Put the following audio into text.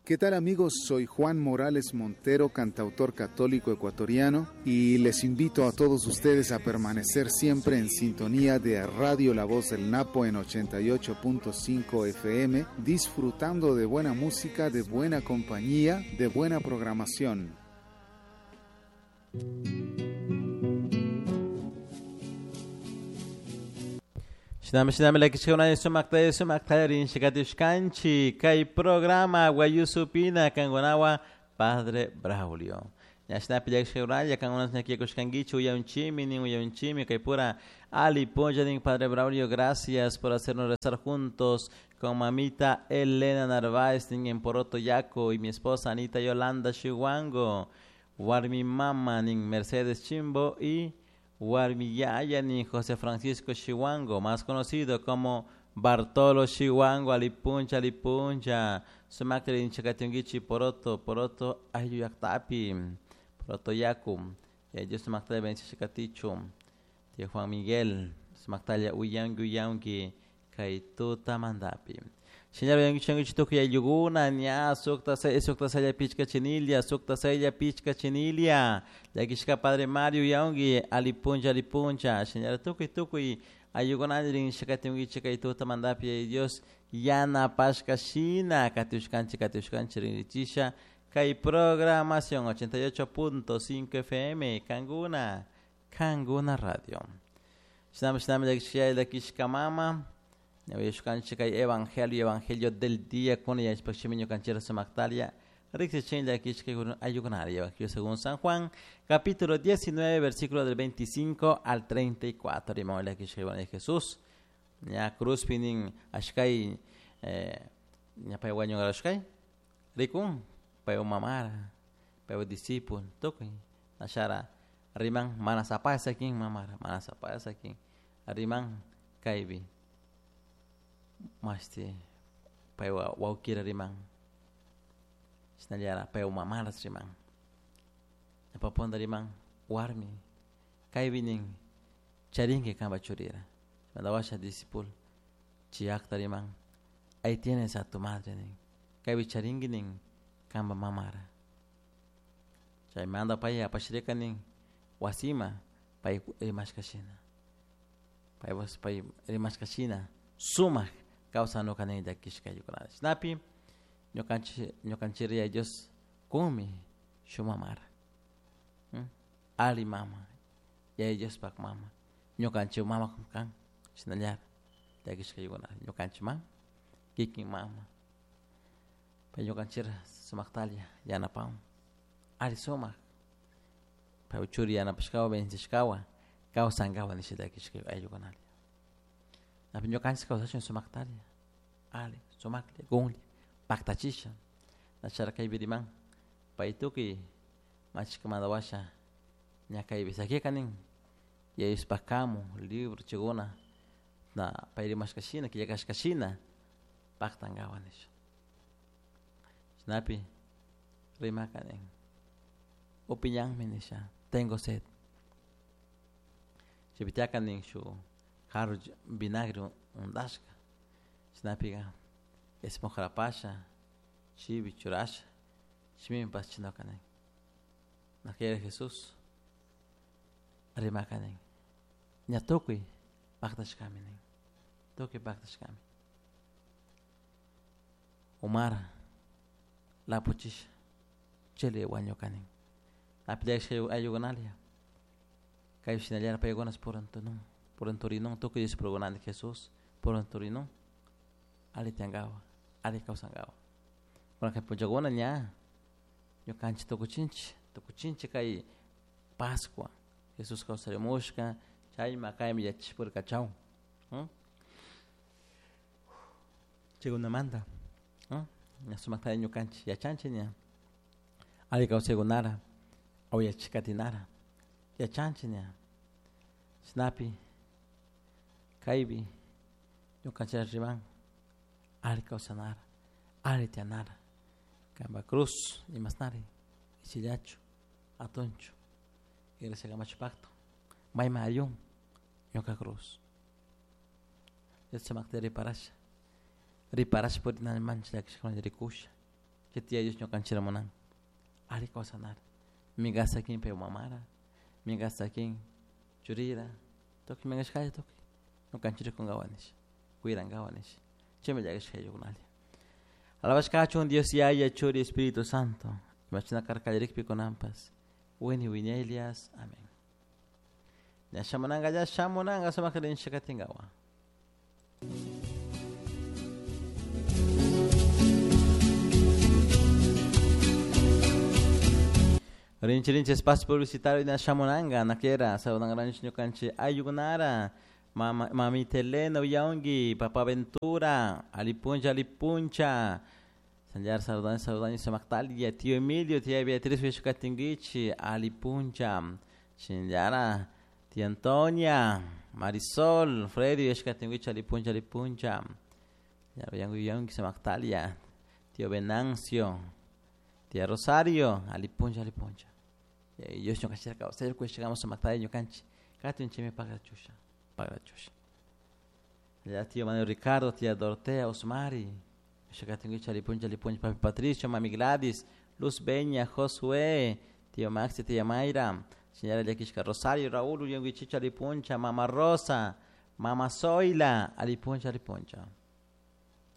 ¿Qué tal amigos? Soy Juan Morales Montero, cantautor católico ecuatoriano, y les invito a todos ustedes a permanecer siempre en sintonía de Radio La Voz del Napo en 88.5 FM, disfrutando de buena música, de buena compañía, de buena programación. Shinami shinami llakishkuna sumakta sumakta rinshikatishkanchik kay programa Wayusupina kankunawan Padre Braulio. Ñashnapi llakishkakunalla kankuna ñakikushkankichik uyanchimi nin uyanchimi kay pura Ali punlla nin Padre Braulio, gracias por hacernos rezar juntos con mamita Elena Narváez nin en Poroto Yaco y mi esposa Anita Yolanda Chihuango, warmi mama nin Mercedes Chimbo y warmi yaya nin José Francisco Chihuango, más conocido como Bartolo Chihuango, alipuncha, alipuncha, sumakta rinchakatunkichik poroto, poroto ayllu llaktapi, poroto yaku, Dios sumakta bendecishkatichu, tío Juan Miguel, sumaktalla uyanki uyanki kay tutamantapi. Señor, uyanki tukuy ayllukuna, ña sukta sukta sella pichka chinilia, sukta sella pichka chinilia, llakishka Padre Mario uyanki, alipuncha, alipuncha, Señor, tukuy tukuy ayllukunalla rinshakatunkichik kay tutamantapi, Dios yanapashka shina katiushkanchik katiushkanchik rinrichisha kay programación 88.5 FM Kanguna, Kanguna Radio. Shinami shinami llakishka llakishka mama, ñawiyashkanchik kay evangelio, evangelio del día kuna yachpakshimi ñukanchik sumaktalia riksichin llakishka ayllukunari, evangelio según San Juan, capítulo 19, versículo del 25 al 34, rimamo llakishka de Jesús, ña cruzpi nin ashkay ña pay wañunkarashkay rikun paywan mamara, paywan discípulo tukuy ashara riman mana sapay sakin mamara, mana sapay sakin riman kaypi mashti paywan wawkira riman shinallara paywan mamaras riman ñawpapunta riman warmi kaypi nin charinki kanpa churira chaymanta washa discípulo chiyakta riman ahí tienes a tu madre nin kaypi charinki nin kanpa mamara chaymanta pay apashrika nin wasima pay rimashka shina pay pay rimashka shina sumak kawsanuka nin llakishka ayllukunata shinapi ñukanchik ñukanchik Yaya Dios kunmi shuk mamara ali mama Yaya Diospak mama ñukanchik mama kan shinallara llakishka ayllukunata ñukanchik mama kikin mama pay ñukanchik sumaktalla yanapawan ari sumak pay churi yanapashkawan bendecishkawan kawsankawan nisha llakishka ayllukunalla napi ñukanchik kawsashun sumaktalla ali sumaklla kunlla paktachisha nachara kaypi riman pay tukuy machishkamanta washa ña kaypi sakika nin Yaya Diospak kamu libro chaykuna na pay rimashka shina killkashka shina paktankawan nisha chashnapi rimaka nin upiñanmi nisha tengo sed chaypitaka nin shuk jarro vinagre undashka chinapika esponjarapasha chivi churasha shimipipash chinoka nin nakayari Jesús rimaka nin ña tukuy paktashkami nin tukuy paktashkami umara lapuchisha chile wañuka nin api llakishka ayllukunalla kay shinallara paykunas purantunun puranturinun tukuy discipulukunantin Jesús puranturinun ali tiyankawan ali kawsankawan kuna kay punllakuna ña ñukanchik tukuchinchik tukuchinchik kay Pascua Jesús kawsarimushka chayma kaymi yachashpurka chawun chaykunamanta ña sumaktalla ñukanchik yachanchik ña alli kawsaykunara o yachashkatinara yachanchik ña chashnapi kaypi ñukanchik riman alli kawsanara alli tiyanara kanpa cruz imashnari ichillachu atunchu iglesia Camacho Pacto mayman ayun ñuka cruz Dios sumakta riparasha riparasha purinalla mancha llakishkuna rikusha. Chayta Dios ñukanchira munan. Ali kawsanara. Mingasakin pay mamara. Mingasakin churira. Tukuy mingashkalla tukuy. Ñukanchik rikunkawa nish. Cuidankawa nish. Chaymi llakishka ayllukunalla. Alabashkachun Dios Yaya, Churi, Espíritu Santo. Imashina karkallarikpi kunanpas. Wini wiñaylias. Amén. Ña shamunanka, ya shamunanka sumak rinchik katinkawa. Rinchi rinchi espacio publicitario ña shamunanka nakiera saludankaranchik ñukanchik ayllukunara. Mama, mamita Elena Uyaungi, Papá Ventura, Alipuncha, Alipuncha, Sanjar saludan, saludan, Samactalia, tío Emilio, tía Beatriz Huixcatinguichi, Alipuncha, Chindiara, tía Antonia, Marisol, Freddy Huixcatinguichi, Alipuncha, Alipuncha, Uyaungi, Samactalia, tío Venancio, tía Rosario, Alipuncha, Alipuncha. Dios ñukanchik kawsay llegamos a Mactalia ñukanchik, katin chimi paga chusha. Paga chusha. Ya tío Manuel Ricardo, tía Dorotea, Osmari, Alipuncha, Alipuncha, papi Patricio, mami Gladys, Luz Beña, Josué, tío Maxi, tía Mayra, señora Yaquishka Rosario, Raúl, Uyanguichicha, Alipuncha, mamá Rosa, mamá Zoila, Alipuncha, Alipuncha.